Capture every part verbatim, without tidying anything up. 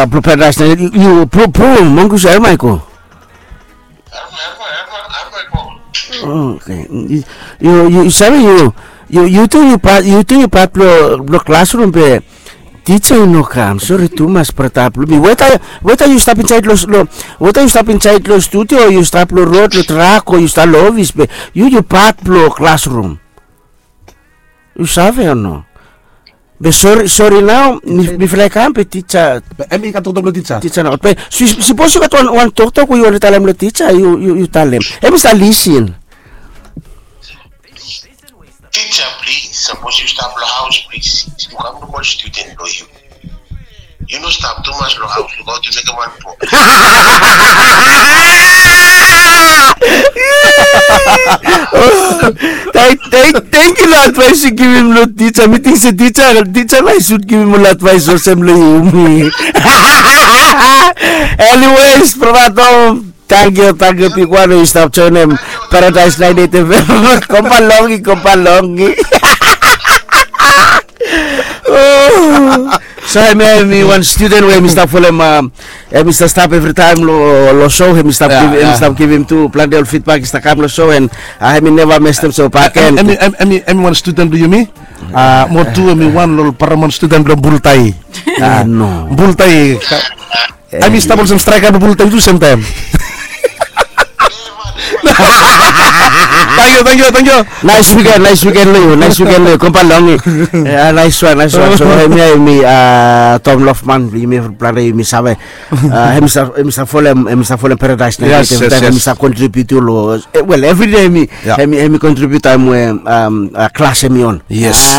Blong Paradise Night, yu, yu, Bru, Bru, Mongus, Hermaiko. Herma, Herma, Herma, Hermaiko. Oke. Yu, yu, yu save, yu, yu, yu tu, yu pat, yu tu, yu pat blong, blong klasrum be tija i no kam. Sori tumas, brata blong mi. Weta, weta yu stap insaed long, long, weta yu stap insaed long studio, yu stap long rod, long trak, o yu stap long ofis, be yu, yu pat blong klasrum. Yu save o no? Be sori, sori nao, mi, mifala i kam be tija. Be hemi gat toktok blong tija. Tija nao. Be si-, sipos yu gat wan, wan toktok we yu wantem talem long tija, yu, yu, yu talem. Hemi stap lisin. Tija, plis, sapos yu stap long haos, plis, yu kam luk ol studen blong yu. Yu no stap tumas long haos, lukaot yu mekem wan po. Tang-, tang-, tangkiu long advaes yu givim long tija. Mi ting se tija, tija nao i sud givim ol advaes olsem long yumi. Anyways, brata Tom, tangkiu, tangkiu bigwan we yu stap joenem Paradise naen eit F M. Kombalongi, kombalongi. So hemia hemi wan studen we hemi stap folem, a, hemi stap, stap evritaem long, long show, hemi stap, ya, givim, hemi, ya, stap givim tu plante ol feedback i stap kam long show, and, a, hemi neva mestem so bakegen. Hemi, hemi, hemi, hemi wan studen blong yumi. A, mo tu hemi wan long ol paramount studen blong Bultai. A, no. Bultai. Hemi stap olsem straeka blong Bultai tu semtaem. Tangkiu, tangkiu, tangkiu. Naes wiken, naes wiken long yu, naes wiken long yu, kombalongi. Ya, naes wan, naes wan. So hemia hemi, a, Tom Lofman, yumi plante yumi save. A, hemi stap, hemi stap folem, hemi stap folem Paradise naen eit F M, hemi stap kontribiut long, e, wel, evri dei hemi, hemi, hemi kontribiut taem we, am, a, klas hemi on. Yes.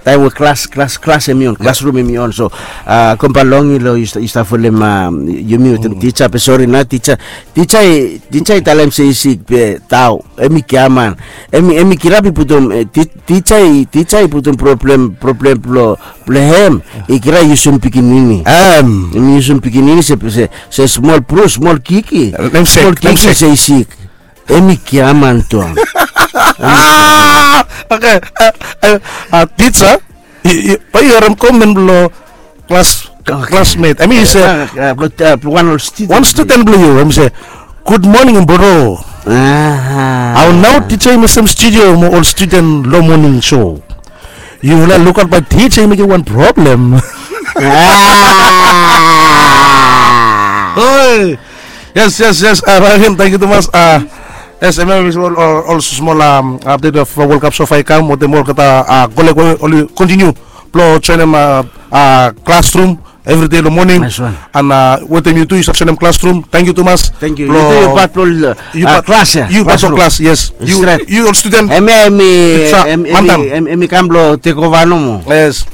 Taem we klas, klas, klas hemi on, klasrum hemi on. So, a, kombalongi long yu stap, yu stap folem, a, yumi wetem tija, be sori nao tija, tija i, tija i talem se i sik be tao, hemi giaman. Hemi, hemi kirap i putum, e, ti-, tija i, tija i putum problem, problem blong, blong hem. I kirap i yusum pikinini. Hemi yusum pikinini se, se, se smol bru, smol kiki. Smol kiki se i sik. Hemi giaman tu. Oke, e, e, a, tija, i, i, bae yu harem komen blong klas, klasmet. Hemi se, a, a, blong, a, blong wan ol studen. Wan studen blong yu, hemi se, "Good morning, bro." Aha. Hao nao tija i mestem studio mo ol studen long moning show. Yufala lukaot bae tija i mekem wan problem. A. Oi. Yes, yes, yes. A, bakegen, tangkiu tumas. A, yes, hemia hemi ol, ol, ol smol, am, update of World Cup so far i kam, wetem olgeta, a, koleg we oli kontiniu blong joenem, a, a, klasrum evri dei long moning. Naes wan. And, a, wetem yu tu yu stap joenem klasrum. Tangkiu tumas. Tangkiu. Yu tu yu pat blong, a, klas ya. Yu pat blong klas, yes. Yu, yu ol studen. Hemia hemi, hemi, hemi kam blong tekova nomo. Yes.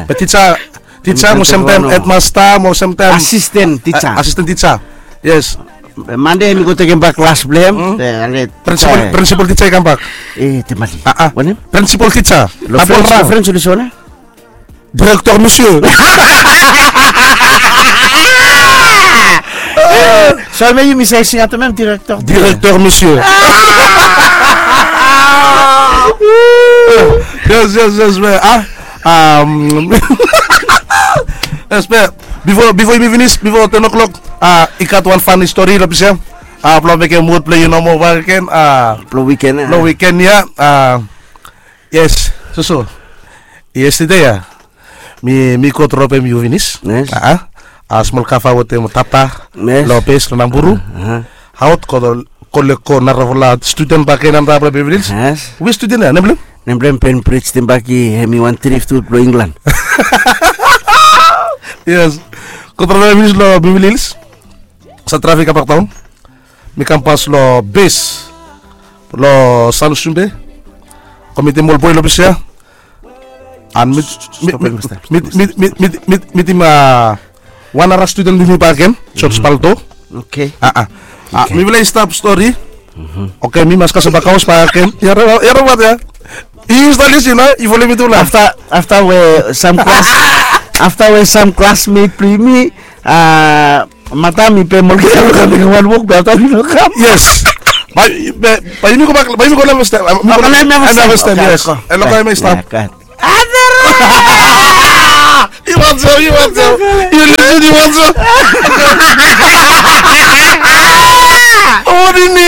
Be tija, tija mo semtaem hedmasta mo semtaem asisten tija. Asisten tija. Yes. Mande hemi go tekem bak klas blong hem. Prinsipol, prinsipol tija i kambak. E, temali. Wanem? Prinsipol tija. Lo Frens, lo Frens oli sole. Directeur monsieur. Sole, yumi save singaot hem, directeur. Directeur monsieur. Yes, yes, yes, man. A, Am, yes, be bifo, bifo yumi finis, bifo ten o'clock, a, i gat wan funny story long ples ya. A, blong mekem wod blong yu nomo bakegen, a, blong wiken, a, blong wiken ya. A, yes, soso. Yestede ya, mi, mi go dropem yu finis. Yes. A, a, a smol kava wetem tata, yes, long bes long Namburu. Aha. Aot go, go, go narafala studen bakegen antap long Beverly Hills. Yes. Which studen ya, nem blong hem? Nem blong hem Ben Bridge Timbaki, hemi wan trip tu blong England. Yes. Go trafik finis long Beverly Hills. Sa trafik kambak daon. Mi kampas long bes long San Sumbe. Go mitim ol boe long ples ya. An mi, mi, mi, mitim, a, wan nara studen blong mi bakegen, George Paldo. Oke. A, a. A, mifala i stap stori. Oke, mi mas kasem bak haos bakegen. Yu harem, yu harem wat ya. Yu stap lisin, a? Yu folem mi tu nao. Afta, afta we sam klas, afta we sam klasmet blong yumi, a, matam i pem olgeta blong kam mekem wan wok, be afta oli no kam. Yes. Bae, bae, bae yumi go bak, bae yumi go neva stap. Bae yumi go neva stap. Yes. Oke, oke. Yu wantem, yu wantem. Yu lusim, Ni wan so. Omoni ni.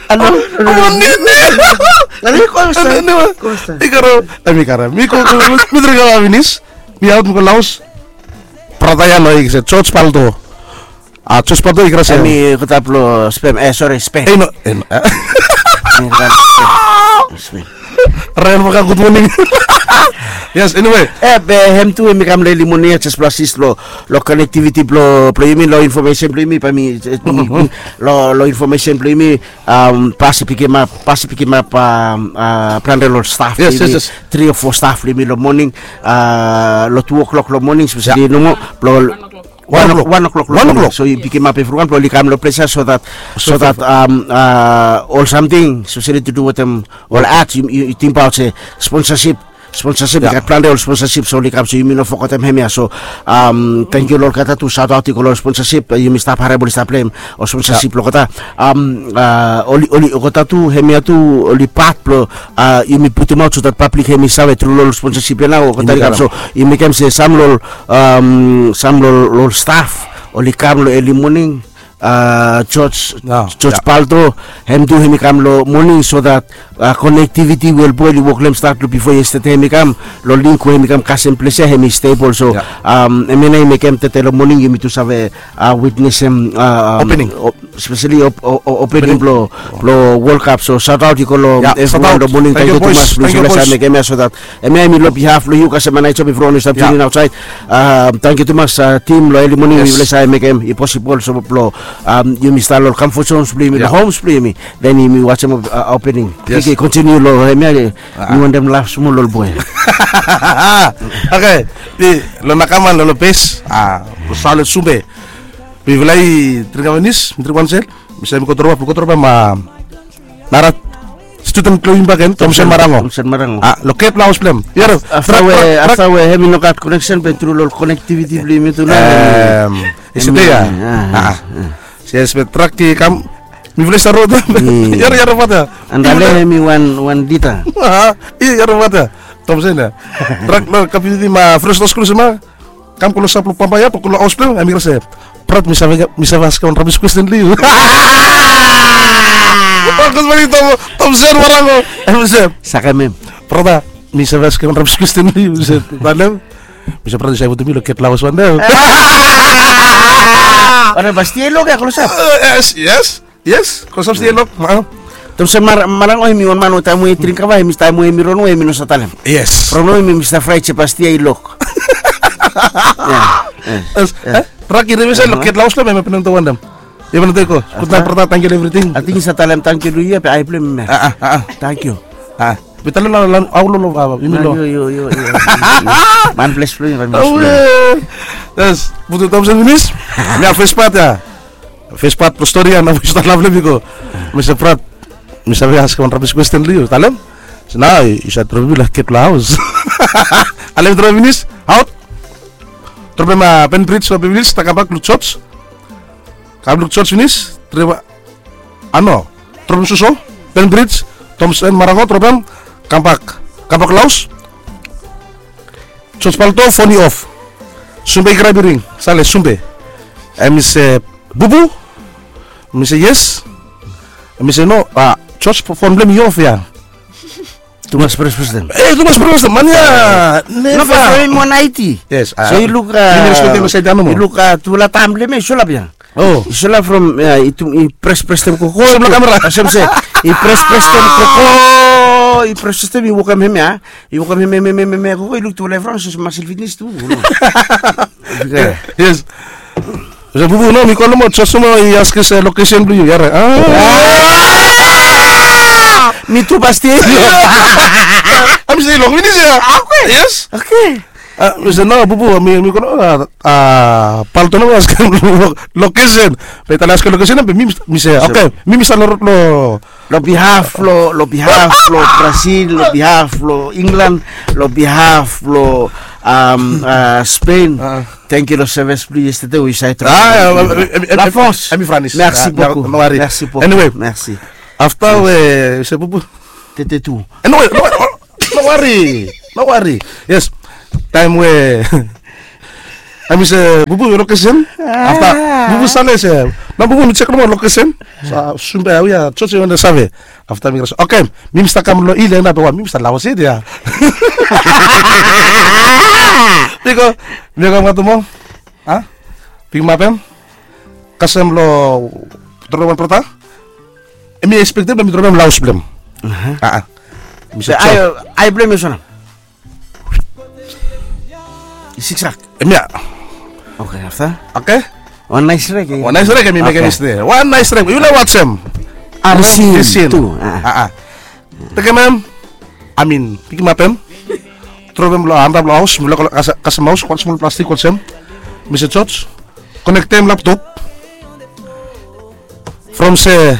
Alo. Omoni ni. Alo, iko stap. Iko stap. Iko ro. Ami kara. Mi ko mi dring kara finis. Mi aot mi go laos. Brata ya no i se George Paldo. A George Paldo i kara se. Ami kotap lo spam. Eh, sorry, spam. Eh, no. Eh, no. Spam. Ryan Maka, good morning. Yes, anyway. Eh, be hem tu hemi kam lo eli moning ya, jes blong asis lo, lo connectivity blo, blo yumi, lo information blo yumi, bae mi, eh, lo, lo information blo yumi, um, bae mi pikimap, bae mi pikimap, um, uh, plante lo staff blo yumi, three or four staff blo yumi lo moning, uh, lo two o'clock lo moning, especially nomo, blo Wan o'clock. Wan o'clock. Wan o'clock. So yu pikimap evriwan blo oli kam lo ples ya so that, so that, um, uh, ol samting, especially to do wetem ol ads, yu, yu, yu tingbaot se sponsorship, sponsorship, i gat plante ol sponsorship, so oli kam, so yumi no fogetem hemia. So, um, tangkiu lo olgeta tu, shout out i go lo ol sponsorship, uh, yumi stap harem oli stap letem ol sponsorship lo olgeta. Um, uh, oli, oli, olgeta tu, hemia tu, oli pat blo, uh, yumi putumaot so that public hemi save tru lo ol sponsorship ya nao, olgeta i kam. So, i mekem se sam lo ol, um, sam lo ol, lo ol staff oli kam lo eli moning, uh, George, George Paldo, hem tu hemi kam lo moning so that, uh, connectivity we ol boe oli wok lo hem start lo bifo yestede hemi kam, lo link we hemi kam kasem ples ya hemi stable. So, um, hemia nao i mekem tede lo moning yumi tu save, uh, witnesem, uh, um, opening. Especially op-, o-, o-, opening blo, blo World Cup. So shout out i go lo evriwan lo moning. Tangkiu tumas blo yu save mekem ya so that, hemia hemi lo behalf blo yu kasem Anaijo, evriwan i stap tune in outside. Um, tangkiu tumas, uh, team lo eli moning, yu save mekem i posibol so blo, um, yumi stap lo ol comfort zones blo yumi, lo homes blo yumi. Then yumi wajem, uh, opening. Yes. Okei, continue lo hemia, mi wantem laf smol lo ol boe. Okei, lo Nakaman lo, lo bes, uh, lo Saole Sumbe. Mifala i dring wan finis, mi dring wan sel. Mi save mi go drop, mi go drop, ma nara student blo yumi bakegen, Thompson Marango. Thompson Marango. Ah, lo ketlaos blo hem. Afta we, afta we hemi no gat connection be tru lo connectivity blo yumi tu nao. Em, isi dei ya. Yes, be trak i kam. Mifala i stap rod. Yare, yare bata. Andale hemi wan, wan dita. Yare bata. Thompson ya. Trak lo community ma Fresno School sema. Kam klosap lo bambae ya, blo klosaos blo hem, hemi krai se, "Brat, mi save, mi save askem wan rabis kwesten lo yu." Gud moning, Tom, Thompson Marango. Hemi se, sakem hem. "Brata, mi save askem wan rabis kwesten lo yu." Mi se, talem. Mi se, "Brat, yu save putum mi lo ketlaos wan dei." Ora, Bastia i lok ya klosap. Yes, yes. Yes, klosap stil i lok. Thompson Marango hemi wan man we taem we i dring kava, hemi, taem we hemi ron we hemi no save talem. Yes. From nao hemi stap fraet se Bastia i lok. Yes. Raki, remesa lo ketlaos lo hem, hemi hepenen to wantem. Hemi hepenen to iko. Gudnaet brata, tangkiu lo evriting. Ating yu save talem tangkiu lo yu ya be ae blong hem ya. Tangkiu. Be talem lo, lo, aololo, yumi lo. Yu, yu, yu, yu. Man ples blong yu, man ples blong yu. Yes, putum Thompson finis. Hemia fes pat ya. Fes pat blo stori ya, nao yu stap laf lo hem i go. Mi se, "Brat, mi save askem wan rabis kwesten lo yu." Talem. So nao yu save dropem mi lo ketlaos. Ale mi dropem finis, aot. Dropem Penbridge, Penbridge, ta kambak lo George. Kam lo George finis, dropem, a no. Dropem Suso, Penbridge, Thompson Marango, dropem, kambak. Kambak laos. George Paldo, fon i of. Sumbe i krai biring, Saole Sumbe. Hemi se, "Bubu?" Mi se, "Yes." Hemi se, "No, a, George, fon blong hem i of ya." Tumas pres pres dem. Eh, tumas pres pres dem, man ya. Neva. No, be from hemi wan aiti. Yes. So i luk, a, i luk, a, tufala taem blong hem ya i solap ya. Oh. I solap from, ya, i pres pres dem koko. Olsem kamera. Olsem se, i pres pres dem koko. I pres pres dem, i wokem hemia. I wokem hem, hem, hem, hem, hem koko, i luk tufala evriwan olsem Muscle Fitness tu. Yes. Olsem, Bubu, no, mi kolem yu, George nomo i askem se location blong yu, ya rait. Mi tu Bastia. Hemi se i lok finis ya. Oke. Yes. Oke. A, mi se, no, Bubu, mi, mi kolem, a, a, Paldo nomo i askem location. Be tale askem location, be mi, mi se, oke, mi, mi stap lo rod lo. Lo behalf lo, lo behalf lo Brazil, lo behalf lo England, lo behalf lo, um, a, Spain. Tangkiu lo sevis blong yu yestede we yu save. A, ya, la force. Hemi franis. Merci beaucoup. No wari. Merci beaucoup. Anyway. Merci. Afta we, se, Bubu. Tete tu. Eh, no, no, no. No wari. No wari. Yes. Taem we Hemi se bubu lokesen. Afta bubu save se, no, bubu mi jek nomo lokesen. Sumbe ya, we ya, jos ya we na save. Afta mi krai se, oke, mi mi stap kam long il ya nao, be wa mi mi stap laos ya. Biko mi kam gat mo. A, bigmap hem. Kasem long drop wan brata. Hemi ekspektem be mi drop hem long haos blong hem. A, a. Mi se, ai blong hem i olsem nao. I siksak. Hemia. Oke, afta? Oke. Wan naes rek. Wan naes rek hemi mekem yestede. Wan naes rek. Yufala wajem. Arsim tu. A, a. Tekem hem. I mean, pikimap hem. Drop hem long antap long haos. Mifala kasem haos, wan smol plastik olsem. Mi se, Jos, konektem laptop. From se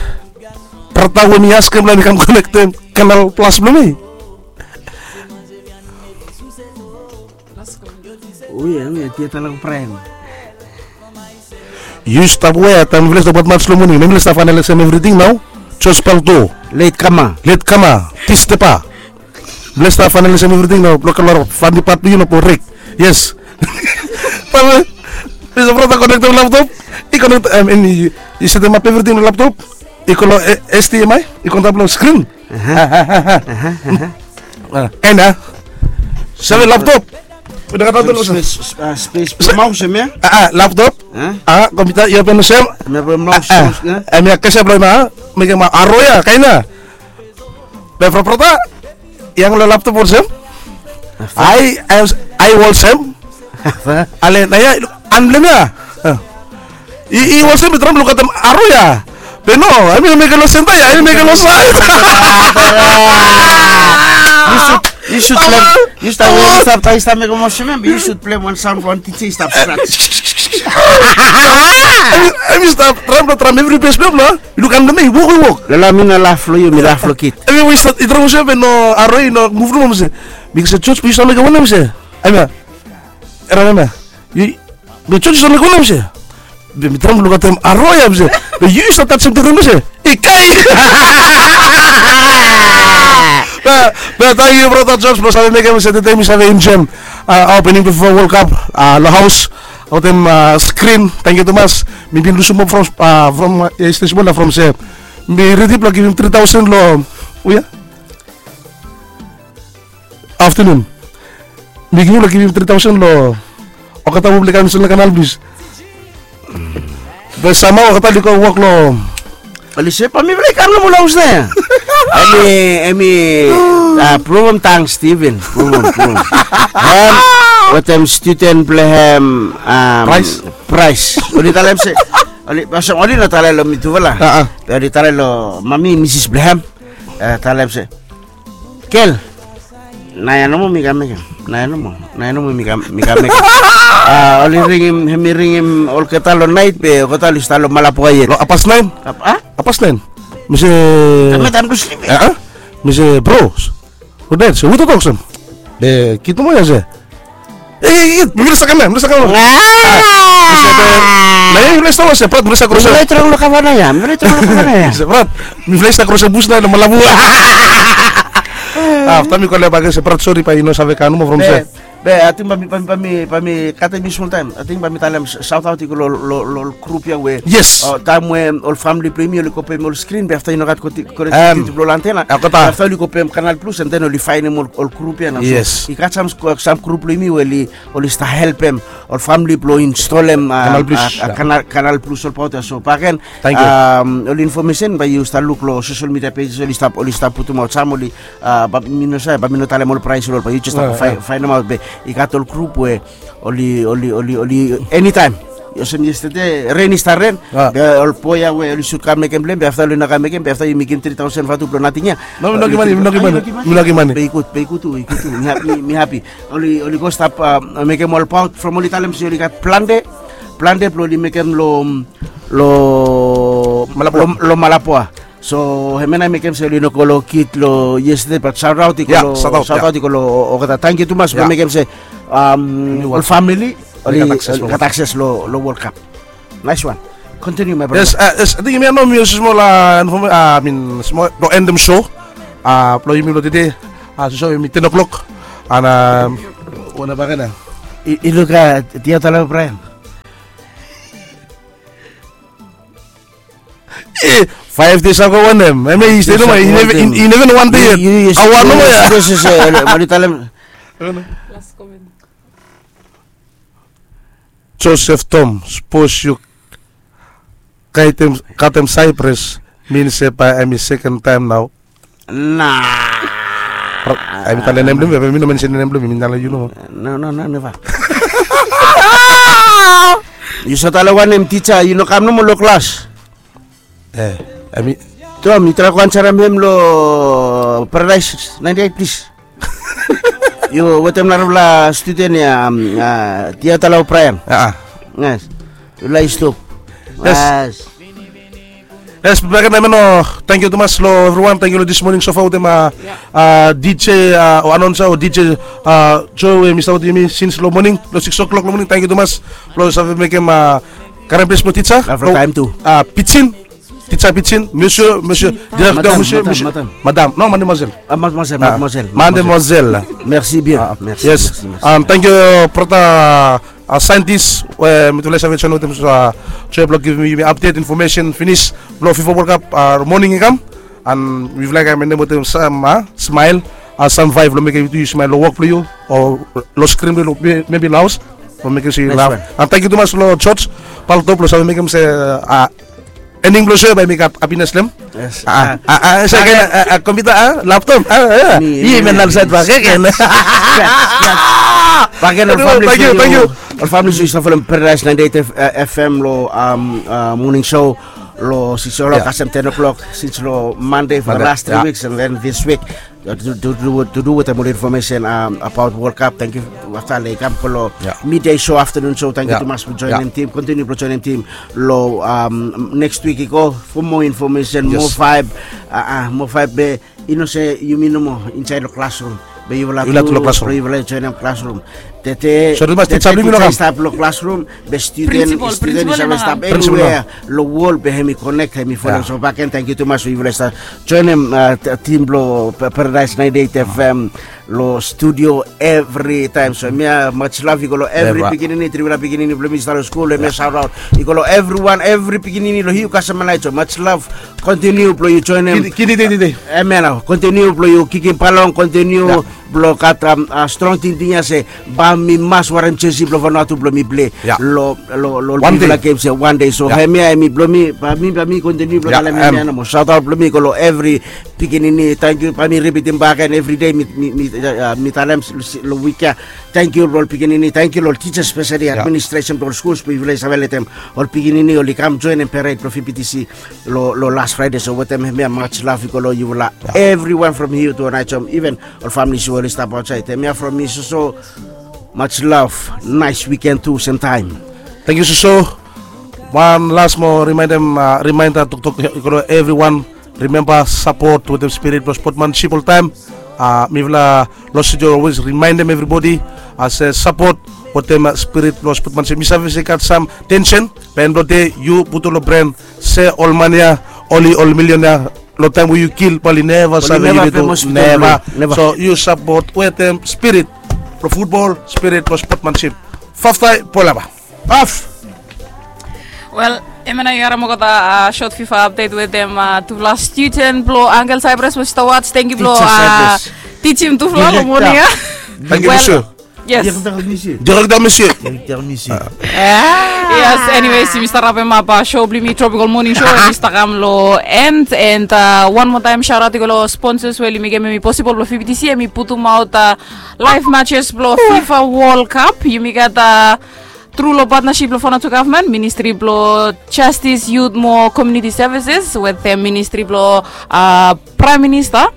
brata we mi askem long hem i kam konektem Kanal Plus blong mi. Ui, em ya dia tala ko Praem. Yu stap wea taem mifala i stap gat mats long moning, mifala i stap fainalesem evriting nao. Jos Palto. Let kama. Let kama. Tistepa. Bless ta fainali sem evriting nao, blok kalaro fandi pat blong yu nao blong rek. Yes. Papa, mi se brata konektem laptop. I konektem, em, em, i setemap evriting long laptop. I go long, eh, H D M I, i go antap long skrin. Aha. Aha, aha. Kaen ya. Save laptop. Udah kata dulu. Spes, spes, spes blong maos hemia. Ah, ah, laptop. Ah, kompiuta, i open olsem. Hemia blong maos, maos, ya. Hemia kese blong hemia, mekem aro ya, kaen ya. Be from brata, yang long laptop olsem. Ai, ai, ai olsem. Ale, nao ya, an blong hemia. I, i olsem, i traem lukaotem aro ya. Be no, hemi no mekem long senta ya, hemi mekem long saed. Yu sud, yu sud blem, yu stap, yu stap, yu stap mekem olsem, be yu sud blem wan saon blong wan tija i stap scratch. Hemi, hemi stap traem blong traem evri bes blong hem nao. Luk han blong mi, i wok, i wok. Lala, mi no laf long yu, mi laf long kid. Hemi we i stap, i traem olsem be no aro i no muv nomo, mi se. Mi se, Jos, be yu stap mekem wanem, mi se? Hemia. Era hemia. Yu, be Jos, yu stap mekem wanem, mi se? Be mi traem lukaotem aro ya, mi se. Be yu stap tajem tede, mi se. I kai. Be, be tangkiu brata Jos blong save mekem se tede mi save enjoem, ah, opening bifo World Cup, ah, long haos. Wetem, ah, skrin, tangkiu tumas. Mi bin lusum hop from, ah, from, ah, yestede smol ya from se mi redi blong givim tri taosen long, we ya? Aftenun. Mi givim long givim tri taosen long olgeta wok blong kam insait long Kanal Plus. Be samhao olgeta oli go wok long. Oli se, bae mifala i kam nomo long haos nao ya. Hemi, hemi, ah, Provem, tang Steven, Provem, Provem. Hem wetem studen blong hem, um, Price. Price. Oli talem se, oli, olsem oli no talem long mitufala. Ah, ah. Be oli talem long mami, misis blong hem. Eh, talem se, gel, naoia nomo mi kam mekem. Naoia nomo, naoia nomo mi kam, mi kam mekem. Ah, oli ringim, hemi ringim olgeta long naet be olgeta oli stap long Malapua yet. Long happas naen? Hap-, ah? Happas naen. Mi se, taem, taem blong slip. Ah, ah. Mi se, bro, gud naet, se hu i toktok olsem? Be kid nomo ya se, eh, eh, eh, mifala i stap kam ya, mifala i stap kam ya. Ah. Mi se, be, naoia mifala i stap, se brat, mifala i stap krosem. Mifala i toktok long kavana ya, mifala i toktok long kavana ya. Se brat, mifala i stap krosem bus nao long Malapua. Afta mi kolem bakegen se brat, sori, bae i no save kam nomo from se. Be, be, ating bae mi, bae mi, bae mi, bae mi katem yu smol taem. Ating bae mi talem s-, saotaot i go long, long, long grup ya we. Yes. O, taem we ol famili blong yumi oli go pem ol skrin, be afta i no gat koti-, konektiviti blong ol antena. Afta oli go pem Kanal Plus, and then oli faenem ol, ol grup ya nao. So, yes. I gat sam, sam grup blong yumi we oli, oli stap helpem ol famili blong instolem, ah, Kanal Plus, ah, ya. Kanal, Kanal Plus olbaot ya. So bakegen, tangkiu, um, ol infomesen bae yu stap luk long sosel midia pejes, oli stap, oli stap putumaot sam, oli, ah, bae mi no save, bae mi no talem ol praes long ol, bae yu jes stap fae-, faenemaot, be i gat ol grup we oli, oli, oli, oli, enitaem. Olsem yestede, ren i stap ren. Ah. Be ol boe ya we oli sud kam mekem blong hem, be afta oli no kam mekem, be afta yumi givim tri taosen vatu blong nating ya. No, mi no givim mane, mi no givim mane. Mi no givim mane. Be i gud, be i gud tu, i gud tu. Mi ha-, mi, mi hapi. Oli, oli go stap, ah, mekem olbaot from oli talem se oli gat plante, plante blong oli mekem long, long Malapua. Long, long Malapua. So hemia nao i mekem se oli no go long kid long yestede, bat saotaot i go long, saotaot i go long olgeta. Tangkiu tumas blong mekem se, um, ol famili oli gat akses long, gat akses long, long World Cup. Nice one. Continue, my brother. Yes, ah, yes, ating hemia nao mi olsem smol, ah, infom-, ah, I mean, smol blong endem show, ah, blong yumi blong tede. Ah, so, so yumi ten o'clock. An, ah, wan bakegen ya. I, i luk a dia tala Brian. E, five days ago wanem? Em i stay nomo, i never, i never one day yet. Awa nomo ya. Mani talem. Last comment. Joseph Tom, suppose yu katem, katem Cyprus, mean se bae em i second time nao. Na. Em i tale nem blong mi, em i no mention nem blong mi, mi tale yu no. No, no, no, never. Yu sa tale wanem tija, yu no kam nomo lo klas. E, em i. Tom, yu trae go ansarem hem lo Paradise ninety-eight, plis. Yu wetem narafala studen ya, um, a, Tiatala O'Brien. A, a. Yes. Yu laik stop. Yes. Yes. Yes, bakegen hemia nao, tangkiu tumas lo evriwan, tangkiu lo this morning show wetem, a, a, D J, a, o announcer o D J, a, Joe, we i stap wetem yumi sins lo moning, lo six o'clock lo moning, tangkiu tumas lo save mekem, a, karem ples blo tija. Lo taem tu. A, pijin, tija pijin, monsieur, monsieur, directeur, madam, monsieur, madam, monsieur, madam. Madam, no, mademoiselle. A, mademoiselle, mademoiselle. Mademoiselle. Merci bien. A, merci, yes. Merci, merci. Um, tangkiu, brata, a, scientist, we mitufala i save join wetem, a, job blo givim yumi update information finis blo FIFA World Cup, a, moning i kam. An mifala i kam wetem sam, a, smile, a, sam vibe blo mekem yu tu yu smile lo wok blo yu o lo screen blo yu, me-, maybe lo haos, blo mekem se yu laugh. An tangkiu tumas lo George Paltop blo save mekem se, a, ending blo show bae mi gat happiness lo hem. Yes. A, a, a, se ken, a, a, computer, a, laptop, a, a. Mi, mi, mi, mi, mi. Bakegen, bakegen. Tangkiu, tangkiu. Ol famili, yu stap folem Paradise ninety-eight F-, a, F M lo, um, a, moning show lo six o'clock kasem ten o'clock, sins lo Monday for the last three weeks and then this week. To, to, to, to do wetem ol information, um, about World Cup. Tangkiu. Afta oli kam go lo midday show, afternoon show. Tangkiu tumas blo joinim tim. Kontiniu blo joinim tim lo, um, next week i go for more information, more vibe. A, a, more vibe be i no se yumi nomo insaed lo klasrum. Be yufala tu lo klasrum. Be yufala joinim klasrum. Tede, tede tija i stap lo klasrum. Be studen, studen i save stap anywhere lo wol be hemi connect, hemi folem. So bakegen tangkiu tumas we yufala i stap joinim, a, tim blo Paradise ninety-eight F M lo studio evri taem. So hemia much love i go lo evri pikinini, trifala pikinini blo mi i stap lo skul, hemia shout out i go lo evriwan, evri pikinini lo hiu kasem anai. So much love. Kontiniu blo yu joinim. Kidi, kidi, kidi. Hemia nao, kontiniu blo yu kikim balong, kontiniu blo gat, um, a, strong tingting ya se bae mi mas warem jersey blo Vanuatu blo mi plei lo, lo, lo bigfala games ya wan dei. So hemia hemi blo mi, bae mi, bae mi kontiniu blo talem hemia nomo. Shout out blo mi go lo evri pikinini. Tangkiu, bae mi ripitim bakegen evri dei mi, mi, mi, a, mi talem lo wik ya. Tangkiu lo ol pikinini, tangkiu lo ol tija, especially administration blo ol skuls, blo yufala i save letem ol pikinini oli kam joinim parade blo V B T C lo, lo last Friday. So wetem hemia much love i go lo yufala. Everyone from here to Onaijem, even ol families we oli stap aotsaed. Hemia from mi soso, much love, nice weekend tu semtaem. Tangkiu soso. Wan las moa reminder, a, reminder toktok i go lo evriwan. Rimemba sapot wetem spirit blo spotmansip oltaem. A, mifala lo studio always remindem evribodi se sapot wetem, a, spirit blo spotmansip. Mi save se i gat sam tension, be end blo dei yu putum lo bren se ol man ya oli ol millionaire, lo taem we yu kil bae oli neva save, oli neva famous, neva. So yu sapot wetem spirit blo futbol, spirit blo spotmansip. Faftai Polava. Of. Wel, hemia nao yu harem olgeta, a, short FIFA update wetem, a, tufala student blo Uncle Cyprus we i stap watch. Tangkiu blo, a, tijim tufala lo moning ya. Tangkiu, monsieur. Yes. Director, monsieur. Director, monsieur. Yes, anyways, yumi stap rapem ap, a, show blo yumi, Tropical Morning Show, yumi stap kam lo end, and, a, wan moa taem shout out i go lo sponsors we oli mekem hemi possible blo V B T C hemi putum aot, a, live matches blo FIFA World Cup. Yumi gat, a, tru lo partnership blo Vanuatu gavman, Ministry blo Justice, Youth mo Community Services wetem, e, Ministry blo, a, Prime Minister.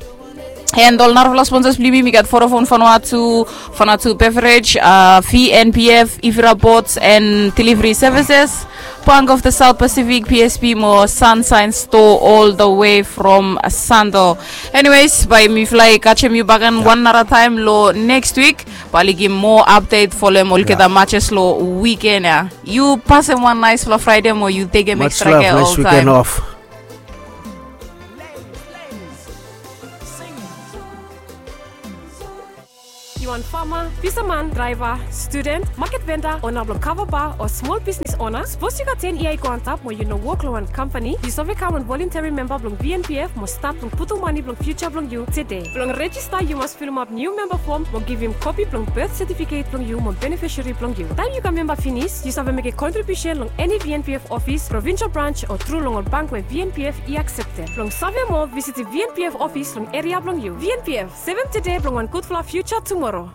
And ol narafala sponsors blo yumi, yumi gat Vodafone Vanuatu, Vanuatu Beverage, a, V N P F, Ivira Boats and Delivery Services, Bank of the South Pacific, P S P mo Sunshine Store all the way from Santo. Anyways, bae mifala i kajem yu bakegen wan nara taem lo next week. Bae oli givim moa update folem olgeta matches lo weekend ya. Yu pasem wan naesfala Friday mo yu tekem extra care oltaem. Fama, fisaman, draeva, studen, maket venda, ona blong kava ba o smol bisnis ona, sapos yu gat ten yia i go antap mo yu no wok long wan kampani, yu save kam wan volonteri memba blong V N P F mo stat blong putum mane blong fiuja blong yu tede. Blong rejista yu mas filimap niu memba fom mo givim kopi blong bet setifiket blong yu mo benefisari blong yu. Taem yu kam memba finis, yu save mekem kontribiusen long eni V N P F ofis, provinsel brans o tru long ol bank we V N P F i akseptem. Blong save moa, visitim V N P F ofis long eria blong yu. V N P F, sevem tede blong wan gudfala fiuja tumoro.